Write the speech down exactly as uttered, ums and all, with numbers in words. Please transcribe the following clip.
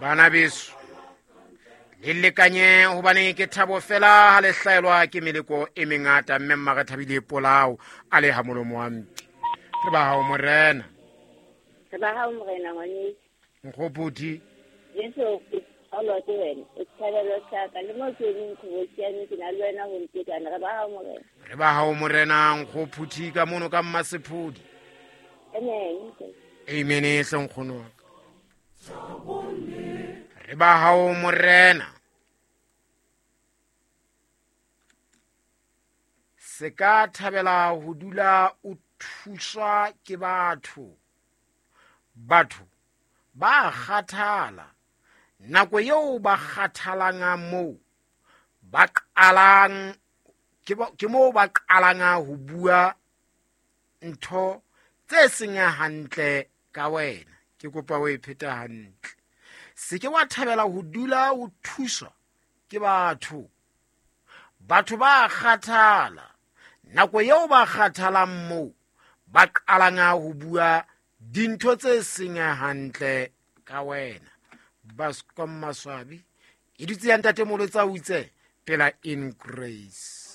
Bana beso, le lekanye hobane ke thabo fela ha le hlaelwa ke meleko e mengata, mme mma re thabile polao a le ha molomo wa mpe. Re ba hao morena. Re ba hao morena ngwaneso. Nkgophuthi. Jesu o ke wena, o tshabelo sa ka le mo ke leng khobosiane ke na le wena ho ntekana. Re ba hao morena. Re ba hao morena Nkgophuthi ka mono ka Mmasephodi. Amen. Amen e hle nkgono wa ka. Re ba hao morena. Se ka thabela ho dula o thuswa ke batho. Batho ba kgathala. Nako eo ba kgathalang moo ba qalang ke moo ba qalang ho bua ntho tse seng hantle ka wena. Ke kopa o e pheta hantle. Se ke wa thabela ho dula o thuswa ke batho. Batho ba kgathala. Nako eo ba kgathalang moo ba qalang ho bua dintho tse seng hantle ka wena. Baskom Maswabi e dutse ya ntate Molotsa utse pela in grace.